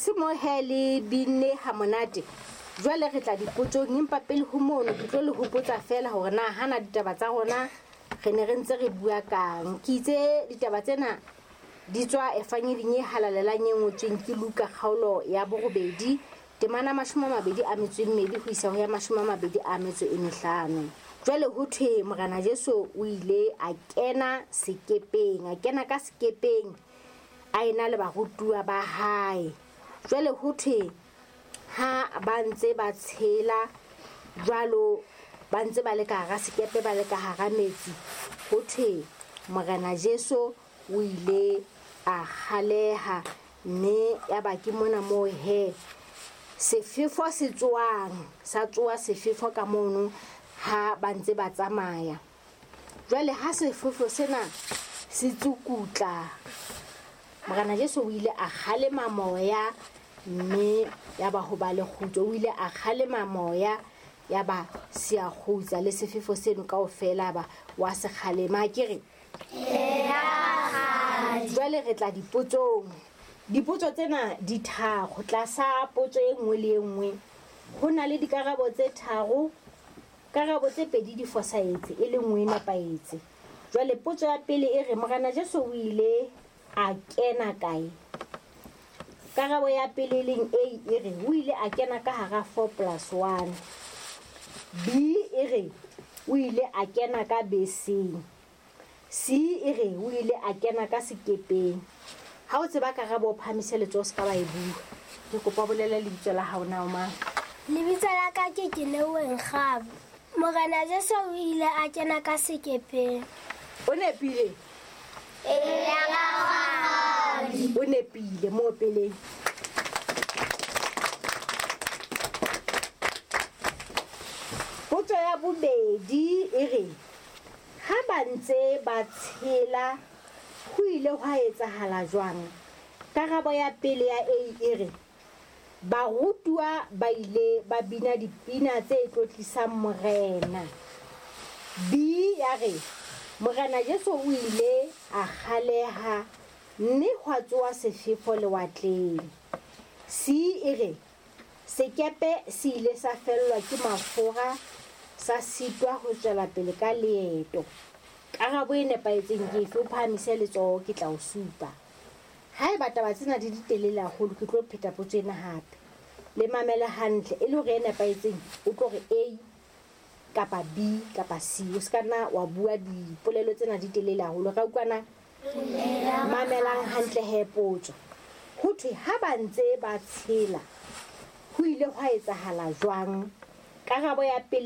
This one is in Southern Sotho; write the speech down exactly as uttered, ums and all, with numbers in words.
Se mo he le binne ha monate. Jwale re tla dipotsong, empa pele ho mono ke tlo le hopotsa fela hore na hana ditaba tsa rona re ne re ntse re bua kang. Ke itse ditaba tsena di tswa Evangeling e halalelang e ngotsweng ke Luka kgaolo ya borobedi temana mashome a mabedi a metso e mmedi ho isa ho ya mashome a mabedi a metso e mehlano. Jwale ho thwe Morena Jesu o ile a kena sekepeng, a kena ka sekepeng a ena le barutuwa ba hae. Jwale ho thwe ha ba ntse ba tshela jwalo, ba ntse ba le ka hara sekepe, ba le ka hara metsi, ho thwe Morena Jesu o ile a kgaleha, mme ya ba ke mona moo he sefefo se tsoang, sa tsoa sefefo ka mono ha ba ntse ba tsamaya. Jwale ha sefefo sena se tsukutla, Morena Jesu o ile a kgalema moya, mme ya ba ho ba le kgutso. O ile a kgalema moya, ya ba se a kgutsa, le sefefo seno kaofela ba wa se kgalema. Ke re jwale re tla dipotsong. Dipotso tsena di tharo. Tlasa potso e nngwe le e nngwe ho na le dikarabo tse tharo. Karabo tse pedi di fosahetse, e le nngwe e nepahetse. Jwale potso ya pele e re Morena Jesu o ile a kena kae? Karabo ya pele e leng A e re o ile a kena ka hara four plus one. B e re o ile a kena ka beseng. C e re o ile a kena ka sekepeng. Ha o tseba karabo o phahamise letsoho, se ka ba e bua. Ke kopa o bolele lebitso la hao na o mang? Lebitso la ka ke Keleweng Kgabo. Morena Jesu o ile a kena ka sekepeng. O nepile? Eya, rakgadi. O nepile mo peleng. Potso ya bobedi e re ha ba ntse ba tshela ho ile hwa etsahala jwang? Karabo ya pele ya A e re barutuwa ba ile ba bina dipina tse tlotlisang Morena. B ya re Morena Jesu o ile a kgaleha mme hwa tsoha sefefo lewatleng. C e re sekepe se ile sa fellwa ke mafura, sa sitwa ho tswela pele ka leeto. Karabo e nepahetseng ke efe? O phahamise letsoho, ke tla o supa. Haeba taba tsena di di telele haholo, ke tlo pheta potso ena hape. Le mamele hantle, e le hore e nepahetseng o tlo re A kapa B kapa C. O se ka nna wa bua dipolelo tsena di telele haholo. Ra utlwana? Mamelang hantle he potso. Ho thwe ha ba ntse ba tshela ho ile hwa etsahala jwang? Karabo ya pele